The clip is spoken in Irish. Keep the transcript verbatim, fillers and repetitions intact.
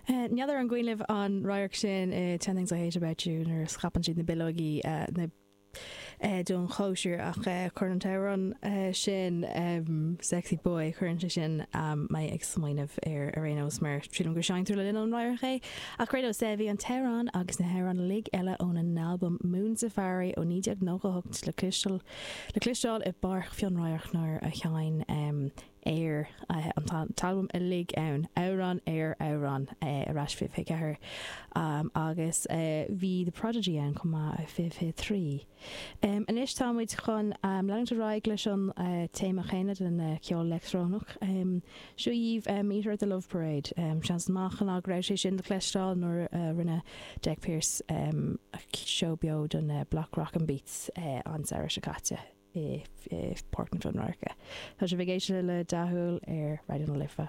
N'fheadar an gcuimhin libh an radharc sin i Ten Things I Hate About You nuair a scaipeann siad na bileogaí na don chóisir ach chuir an t-amhrán sin Sexy Boy chuireann sé sin mé ag smaoineamh ar ar aon nós mar sílim gur seinntear le linn an radharc é. Ach ar aon nós bhí an t-amhrán agus na hamhráin uilig eile óna n-albam Moon Safari ó naoi déag nócha hocht le cloisteáil le cloisteáil i bPáirc Fionn Radharc nuair a sheinn Aer an t-albam uilig ann, amhrán ar amhrán ar ais fiche fiche ceathair agus bhí The Prodigy ann chomh maith i fiche fiche trí. Anois tá muid chun leanúint ar aghaidh leis an téama chéanna den cheol leictreonach. Seo dhaoibh Meet Her at the Love Parade. Seans maith ná go raibh sé sin le cloisteáil nuair a rinne Jack Pierce seó beo don Bloc Rock and Beats an samhradh seo caite. i Páirc na Fionradhairce. Tá sibh ag éisteacht le Dathúil ar Raidió na Life.